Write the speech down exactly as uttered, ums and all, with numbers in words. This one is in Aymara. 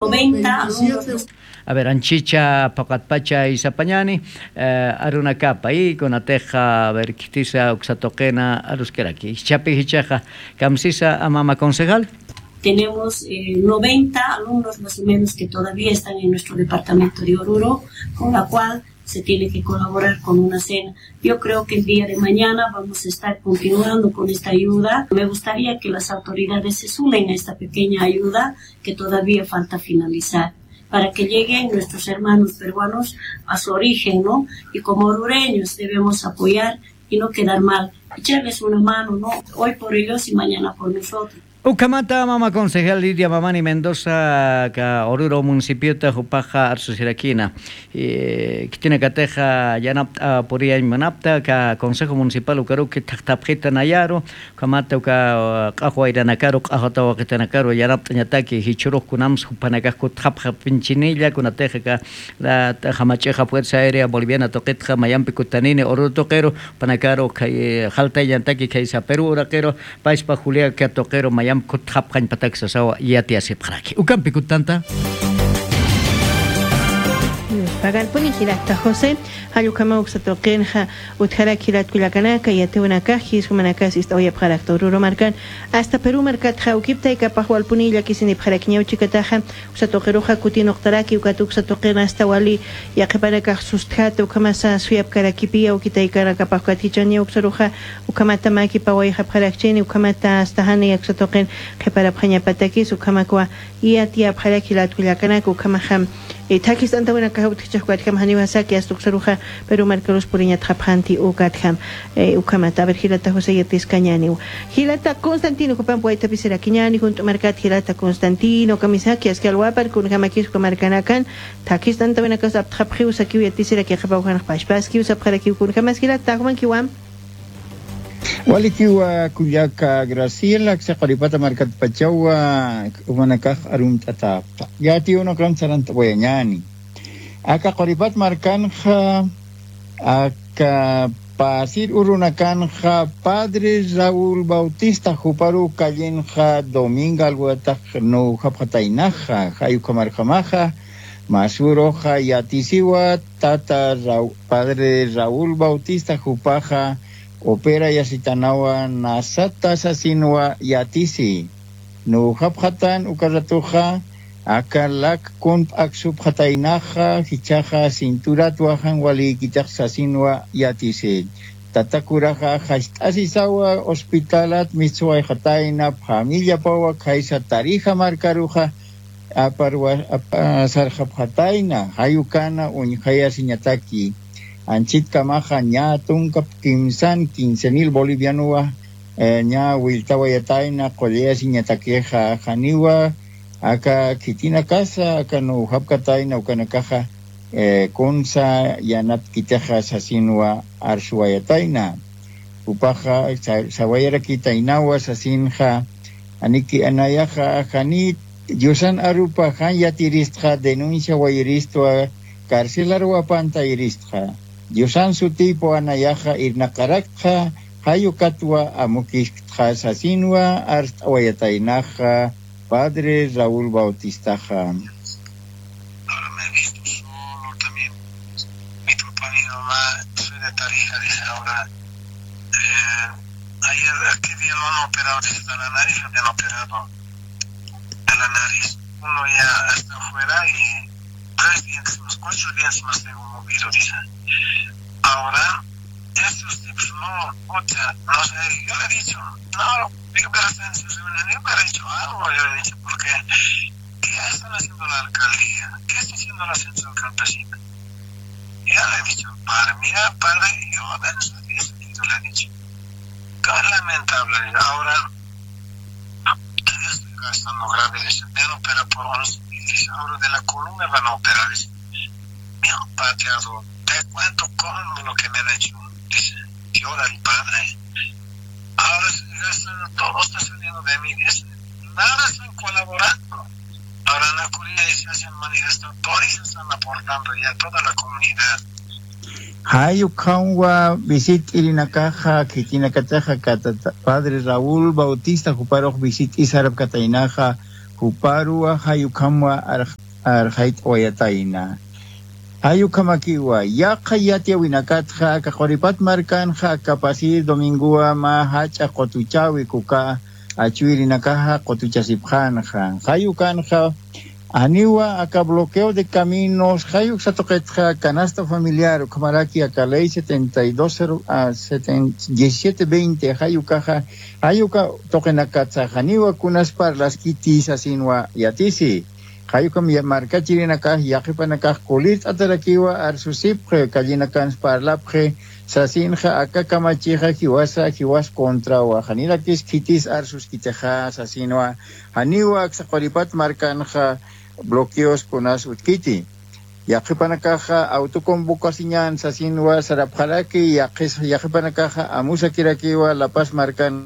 noventa alumnos. A ver, anchicha paqatpacha isapañani, eh, arunakapa, y kunatixa, a ver, khitisa uksa tuqina aruskiraki. Jichhapi jichhaxa, kamsisa, a mama concejal. Tenemos, eh, noventa alumnos más o menos que todavía están en nuestro departamento de Oruro, con la cual se tiene que colaborar con una cena. Yo creo que el día de mañana vamos a estar continuando con esta ayuda. Me gustaría que las autoridades se sumen a esta pequeña ayuda que todavía falta finalizar, para que lleguen nuestros hermanos peruanos a su origen, ¿no? Y como orureños debemos apoyar y no quedar mal, echarles una mano, ¿no? Hoy por ellos y mañana por nosotros. Ukhamata mama concejal Lidia Mamani Mendoza, ka Oruro municipiota, jupaxa arsusirakina. Eh, khitinakatixa yanapt'a puriyañ munapta, ka Consejo Municipal ukaruki thaqthapxita nayaru, ukhamata uka, uh, q'axwa iranakaru, q'axwa tawaqitanakaru yanapt'añataki, jichhurux kunams jupanakax kutxapxapinchiniya, kunatixa ka, la, jamach'ixa Fuerza Aérea Boliviana tuqitxa mayampi kutanini Oruro tuqiru, jupanakaru khay, eh, jaltayañataki khaysa Perú uraqiru, payspa Julia ka tuqiru mayamp kutxapxañpatak sasawa yatiyasipxaraki. Ukampi kutanta. Pagarpuni jilata José, jall ukhama uksa tuqinxa utjaraki jilat kullakanaka, yatiwanakax, jis jumanakas ist'awayapxarakta Oruro markan, hasta Perú markatxa, ukiptaykapax walpuni llakisinipxarakiñaw chikataxa, uksa tuqiruxa kutinuqtaraki, ukat uksa tuqin hasta wali yaqhipanakax sustjata, ukhamasa suyapkarakipiya, ukitaykanakapax ukat jichaniya uksaruxa, ukhamata maki pawayxapxarakchini, ukhamata hasta jani uksa tuqin qhiparapxañapatakis, ukhamakwa yatiyapxaraki jilat kullakanaka, ukhamaxa, eh, thakist'antawinakax utjchixkatjam janiwa saki hasta uksaruxa, Perú markarus puriñatxapxanti ukatjam, eh, ukhamata, a ver, jilata José yatiskañaniw. Jilata Constantino, jupamp waythapisirakiñani, junt'u markat jilata Constantino, kamisaki aski alwapar, kunjamakis jupa markanakan, thakist'antawinakas aptxapxiw sakiw yatisiraki, qhipaw janxpachpaskiw sapxarakiw, kunjamas jilata, jumankiwa. Walikiwa kullaka Graciela, aksa Quripata markatpachawa, jumanakax arumt'atäpxta. Yatiyunakan sarant'awayañani. Aka Quripat markanxa, aka pasir urunakanxa, Padre Raúl Bautista, juparu callenxa Dominga alwatax nuwjapxataynaxa, jay ukhamarjamaxa, masuruxa yatisiwa, tata Rau-, Padre Raúl Bautista jupaxa, operayasitanawa nasata sasinwa yatisi. Nuwjapxatan uka ratuxa, aka lak kunp'aksupxataynaxa, jichhaxa cinturatwa jan walïkitix sasinwa yatisi. Tata curaxa, jast'asisawa hospitalat mistsuwayxatayna, familiapawa khaysa Tarija markaruxa, aparwa, apa-, sarxapxatayna, jay ukana uñjayasiñataki. Anchitkamaxa ñä tunka kimsan quince mil bolivianowa, eh, ñä willtawayatayna, qullayasiñatakixa, janiwa, aka khitinakasa, aka nuwjapkatayna, ukanakaxa, eh, kunsa yanapkitixa sasinwa arsuwayatayna. Jupaxa sa-, sawayarakitaynawa sasinxa, aniki anayaxa, jani Diosan arupa jan yatiristxa, denuncia wayiristwa, carcelar wapantayiristxa. Diosan sutiypaw anayaxa irnaqaraktxa, jay ukatwa amukiktxa sasinwa arst'awayataynaxa, Padre Raúl Bautistaxa. Ahora me he visto solo también. Mi papá, mi mamá, soy de Tarija, dice ahora. Eh, ayer, ¿qué día lo han operado? Dice, de la nariz lo habían operado. De la nariz. Uno ya está afuera y tres dientes más, cuatro dientes más tengo movido, dice. Ahora, estos tipos no, puta, no sé, yo le he dicho, no, digo, pero hasta en su reunión, yo hubiera hecho algo, yo le he dicho, porque ¿qué están haciendo la alcaldía? ¿Qué está haciendo la central campesina? Ya le he dicho, padre, mira, padre, yo apenas estoy sentido, le he dicho. Qué lamentable, ahora, todavía estoy gastando grave, dice, me han operado por once mil, dice, ahora de la columna van a operar, dice, me han pateado, te cuento cómo lo que me han hecho, dice, llora el padre. Ahora se gasta todo, está saliendo de mí, dice, nada están colaborando. Ahora en la Curia se hacen manifestadores, están aportando ya toda la comunidad. Jay ukhamwa visit'irinakaxa, khitinakataxa, katata, Padre Raúl Bautista, juparux visit'isarapkataynaxa, Juparuwa jayukhamwa arxayt'awayatayna. Jayukhamakiwa yaqha yatiyawinakatxa aka quripat markanxa aka pasir domingowa mä jach'a qutuchäwi kuka achwirinakaxa qutuchasipxänxa jayukanxa. Janiwa aka bloqueo de caminos jayuksa tuqitxa canasta familiar ukhamaraki aka ley setenta y dos diecisiete veinte jayukaxa jayuka tuqinakatsa janiwa kunas parlaskiti sasinwa yatisi. Jayukam markachirinakax yaqipanakax kulirt'atarakiwa arsusipxi callinakans parlapxi sasinxa aka kamachixa jiwasa jiwas contrawa janirakis khitis arsuskitixa sasinwa. Janiwa aksa quripat markanxa bloqueos kunas utkiti. Yaqipanakaxa autoconvocasiñan sasinwa sarapxaraki yaqipanakaxa amusakirakiwa lapas markan